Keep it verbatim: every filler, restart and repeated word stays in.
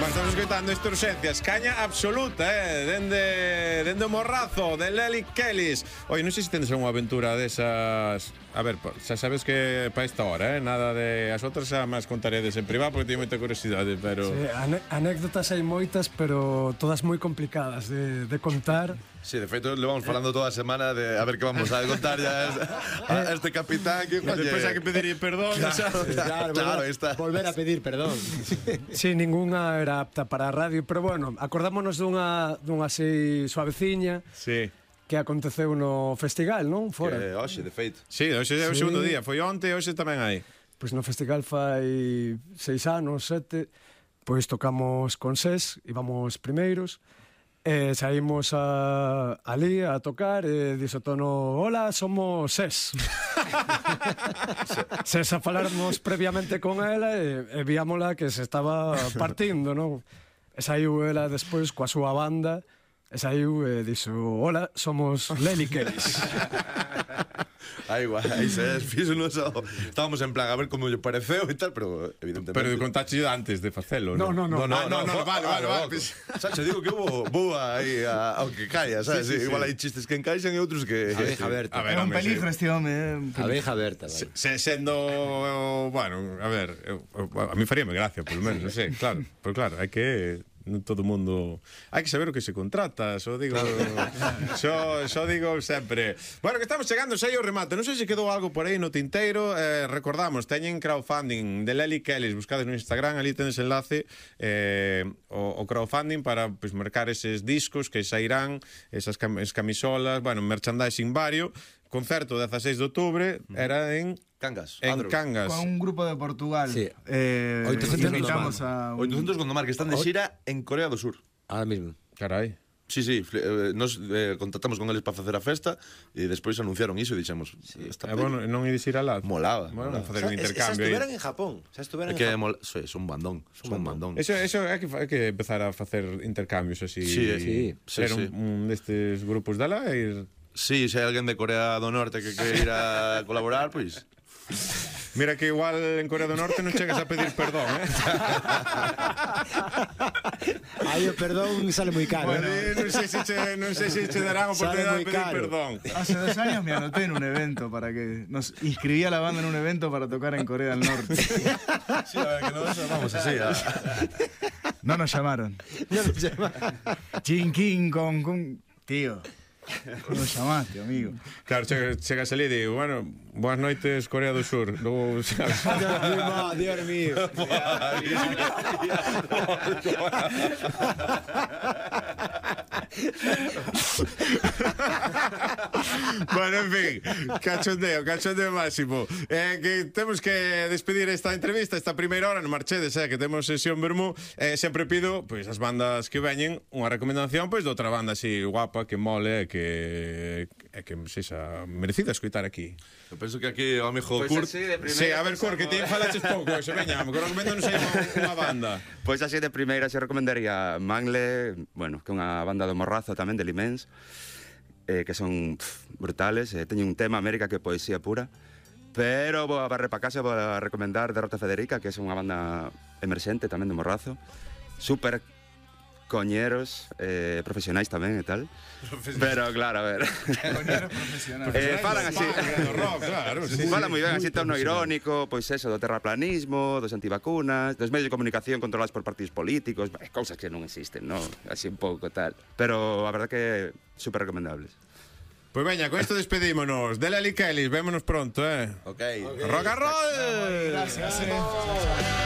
Estamos escoitando esta urxencias, caña absoluta, eh, dende, dende o morrazo de Lely Kellys. Oi, non sei se tendes unha aventura desas. A ver, xa sabes que para esta hora, eh, nada de as outras xa máis contaredes en privado porque teño moita curiosidade, pero sí, ane anécdotas hai moitas, pero todas moi complicadas de, de contar. Sí, de feito, le vamos falando toda a semana de a ver que vamos a contar ya a este capitán que oye, despois hai que pedir perdón, claro, xa. Claro, claro, está. Volver a pedir perdón. Sí, ninguna era apta para a radio, pero bueno, acordámonos dunha dunha así suaveciña. Sí. Que aconteceu no festival, non? Fora. Que hoxe, de feito. Sí, hoxe é o segundo día, foi onte e hoxe tamén hai. Pois no festival fai seis anos, sete, pois tocamos con SES, íbamos primeiros, e saímos a, ali a tocar e dixo Tono, hola, somos SES. SES a falarmos previamente con ela e, e víamola que se estaba partindo, non? E saiu ela despois coa súa banda e saiu e dixo, hola, somos Lely Kellys. Aí, guai, aí se fixo no so. Estábamos en plan a ver como lle pareceu e tal, pero evidentemente. Pero contaxe antes de facelo, non? No, no, no. No, no, ah, no, no, no, vale, vale, vale. Xa te digo que hubo boa aí ao que caia, sabes? Sí, sí, igual sí. hai chistes que encaixan e outros que Abeja aberta. A ver, É un home, peligro sí. este home, eh? Abeja aberta, vale. Se, sendo, bueno, a ver, eu, a mí faríame gracia, polo menos, non sei, claro, pero claro, hai que non todo o mundo hai que saber o que se contrata, só digo só, só digo sempre. Bueno, que estamos chegando xa ao remate, non sei se quedou algo por aí no tinteiro, eh, recordamos, teñen crowdfunding de Lely Kellys, buscades no Instagram, ali tenes enlace eh, o, o crowdfunding para pues, mercar eses discos que sairán, esas cam es camisolas, bueno, merchandising vario. Concerto dezasseis de outubro era en Cangas, en Adro. Cangas. Con un grupo de Portugal. Sí. Eh, oitocentos invitamos a un... oitocentos Gondomar que están de xira en Corea do Sur. Ahora mismo. Carai. Sí, sí, eh, nos eh, contactamos con eles para facer a festa e despois anunciaron iso e dixemos, sí, É está bueno, non ides ir alá. molaba. Bueno, molaba. facer un intercambio. Xa estuveran en Japón. Xa estuveran É en que Japón. mol... sí, son un bandón, son un bandón. Eso, eso é que, hai que empezar a facer intercambios así. Sí, sí, ser sí, un, sí. un destes grupos de alá e ir. Sí, se hai alguén de Corea do Norte que quere ir a colaborar, pois... Mira que igual en Corea do Norte non chegas a pedir perdón, eh? Aí o perdón sale moi caro. Bueno, ¿no? non sei se che, non sei se che darán oportunidade de Sale moi pedir caro. perdón. Hace dos años me anoté en un evento para que nos inscribí a la banda en un evento para tocar en Corea del Norte. Sí, a ver, que nos vamos así a... No nos llamaron. No nos llama. Chin, king, con, con... Tío, ¿cómo nos llamaste, amigo? Claro, chega, chegas ali e digo, bueno, boas noites Corea do Sur. Logo, sabes? Dios mío. Bueno, en fin, cachondeo, cachondeo máximo. Eh, que temos que despedir esta entrevista, esta primeira hora, no marchedes, eh, que temos sesión Bermú. Eh, sempre pido, pois, as bandas que veñen, unha recomendación, pois, de outra banda así guapa, que mole, que é que sexa merecida escoitar aquí. Eu penso que aquí o amigo Pois Kurt... así de primeira. Sí, a ver, Cor, que ti falaches pouco, eso, veña, que recomendanos aí unha banda. Pois así de primeira se recomendaría Mangle, bueno, que é unha banda do Morrazo tamén, de Limens, eh, que son pff, brutales, eh, teñen un tema América que é poesía pura, pero vou a barrer pa casa, vou a recomendar Derrota Federica, que é unha banda emerxente tamén do Morrazo, super coñeros, eh, profesionais tamén e tal. Pero claro, a ver. Coñeros profesionales. eh, falan así. Do rock, claro, sí, Falan sí. moi ben, así tono irónico, pois eso, do terraplanismo, dos antivacunas, dos medios de comunicación controlados por partidos políticos, bah, cousas que non existen, ¿no? Así un pouco tal. Pero a verdad que super recomendables. Pois veña, con isto despedímonos. De Lely Kellys, vémonos pronto, eh. Ok. Rock and roll! Gracias, eh.